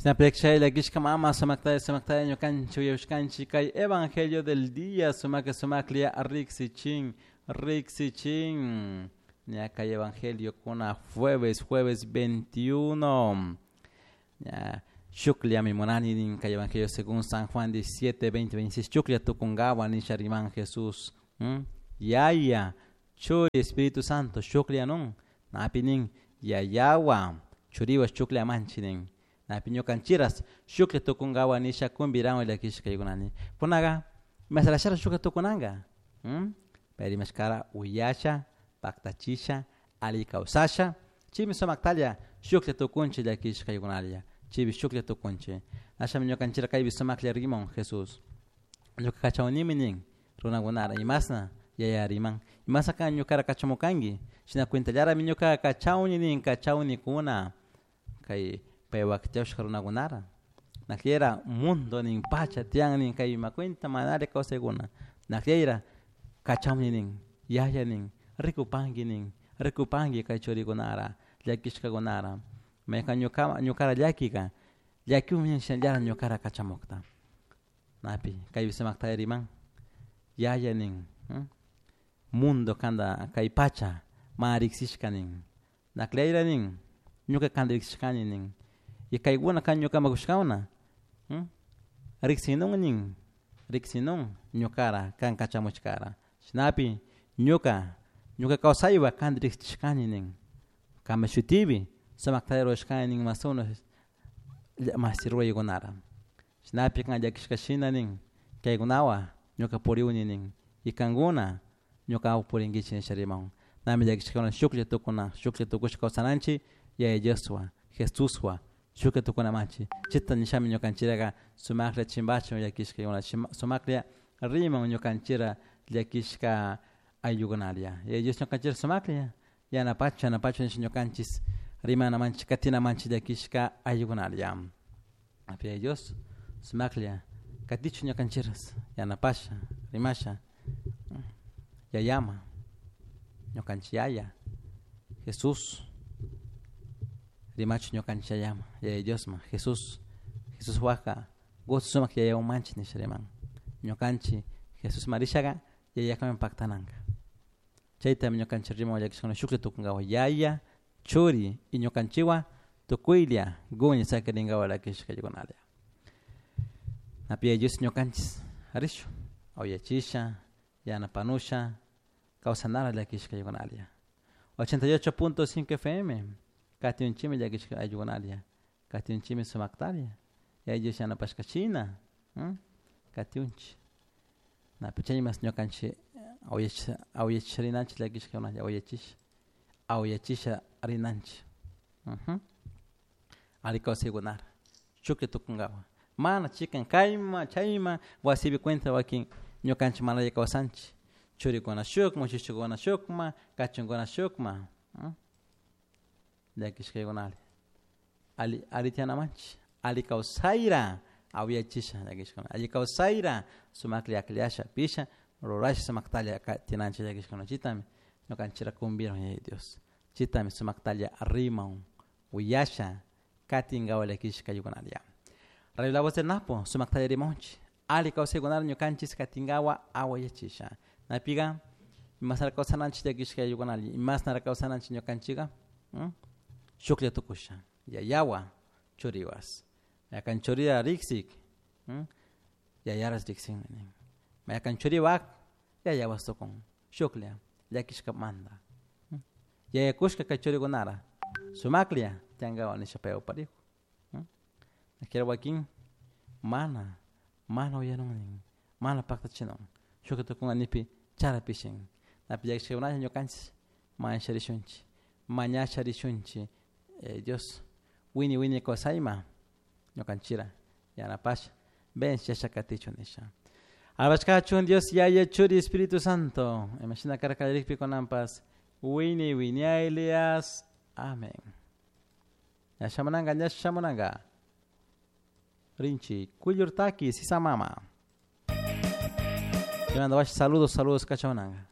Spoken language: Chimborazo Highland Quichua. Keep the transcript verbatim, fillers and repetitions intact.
Shinapekshayla kishka mama sumaktaya sumaktaya ñukanchik uyashkanchik kay evangelio del día sumaka sumaklla riksichin riksichin ña kay evangelio kuna jueves jueves veintiuno ña shukllami munani nin kay evangelio según San Juan diecisiete veinte veintiséis chuklla tukunkawa nisha riman Jesús ¿Mm? Yaya Churi Espíritu Santo shuklla nun napi nin yayawa churiwa shuklla manchi nin napi ñukanchiras shuklla tukunkawa nisha kumbirawan llakishkaykunani kunaga masarashara shuklla tukunanka ¿Mm? Pero imashkara uyasha paktachisha alli kawsasha chaymi sumaktalla shuklla tukunchik llakishkaykunalla chaypi shuklla tukunchik ashami ñukanchira kaypi sumaklla rimon Jesús ñuka kachawnimi nin runakunara imasna yaya riman imasa kan ñukara kachamukanki shina cuentallarami ñuka kachawni nin kachawnikuna kay paypak tiyashka runakunara nakllera mundo nin pacha tiyan nin kay ima cuenta manari kawsaykuna nakllera kachawni nin yaya nin rikupanki nin rikupanki kay churikunara llakishkakunara maykan ñuka ñukara llakika llakiwan nin shinallara ñukara kachamukta napi kaypi sumakta riman yaya nin ¿hmm? Mundo kanta kay pacha mana riksishka nin nakleyra nin ñuka kanta riksishkani nin y kaykuna kan ñukaman kushkawna ¿hmm? Riksinun nin riksinun ñukara kan kachamushkara shinapi ñuka ñuka kawsaywa kanta riksishkani nin kama shutipi sumakta rurashkani nin masuna masi ruraykunara shinapi kan llakishka shina nin kaykunawa ñuka puriwni nin y kankuna ñuka purinkichik nisha riman nami llakishkakuna shuklla tukuna shuklla tukushka kawsananchik Yaya Dioswan Jesuswan shuklla tukunamanchik chayta nishami ñukanchiraqa sumaklla chimpachun llakishkakuna sumaklla riman ñukanchira llakishka ayllukunalla Yaya Dios ñukanchira sumaklla yanapachu yanapachu nisha ñukanchis rimanamanchik katinamanchik llakishka ayllukunalla Yaya Dios sumaklla katichu ñukanchiras yanapasha rimasha yayama ñukanchik yaya Jesús rimachu ñukanchik yayama Yaya Diosman Jesús Jesús waka gusto sumak yayawan nisha riman ñukanchik Jesús marishaqa yayakaman paktananka chaytami ñukanchik riman llakishkuna shuklla tukunkawa yaya churi y ñukanchikwan tukuylla guñi sakirinkawa llakishkaykunalla napi Yaya Dios ñukanchis rishu awyachisha yanapanusha kawsanara llakishkaykunalla ochenta y ocho punto cinco F M katiunchimi llakishka ayllukunalla katiunchimi sumaktalla Yaya Dios yanapashkachina ¿hmm? Katiunchik napi chaymas ñukanchik awyachisha awyachisha rinanchik llakishkakunalla awyachisha awyachisha rinanchik uh-huh. Alli kawsaykunara shuklla tukunkawa mana chikan kayma chayma wasipi cuenta wakin ñukanchik manalla kawsanchik churikuna shukma shushukuna shukma kachunkuna shukma ¿hmm? Llakishkaykunalla alli alli tiyanamanchik alli kawsayra awyachisha llakishkuna alli kawsayra sumaklla akllasha pisha rurasha sumaktalla tiyananchik llakishkuna chaytami ñukanchira kumbiran Yaya Dios chaytami sumaktalla riman uyasha katinkawa llakishkaykunalla Radio La Voz del Napo sumaktalla rimanchik alli kawsaykunara ñukanchis katinkawa awayachisha napiqa imasnara kawsananchik llakishkaykunalla imasnara kawsananchik ñukanchikqa ¿hmm? Shuklla tukusha yayawa churiwas mayakan churira riksik ¿hmm? Yayaras riksinmi nin mayakan churiwak yayawas tukun shuklla llakishkamanta ¿hmm? Yayakushka kay churikunara sumaklla tiyankawa nisha paywan parijo ¿hmm? Nakira wakin mana mana uyanun nin mana paktachinun shuklla tukunka nipi chara pishin napi llakishkakunalla ñukanchis mañasha rishunchik mañasha rishunchik eh, Dios wini wini kawsayma ñukanchira yanapasha vencesha katichu nisha Alabashkachun Dios Yaya Churi Espíritu Santo imashina karka kallarikpi kunanpas wini winiaylias amén. Ñashamunanka ñashamunanka rinchi kuyllurtaki sisamama. Te mando saludos saludos kachamunanka.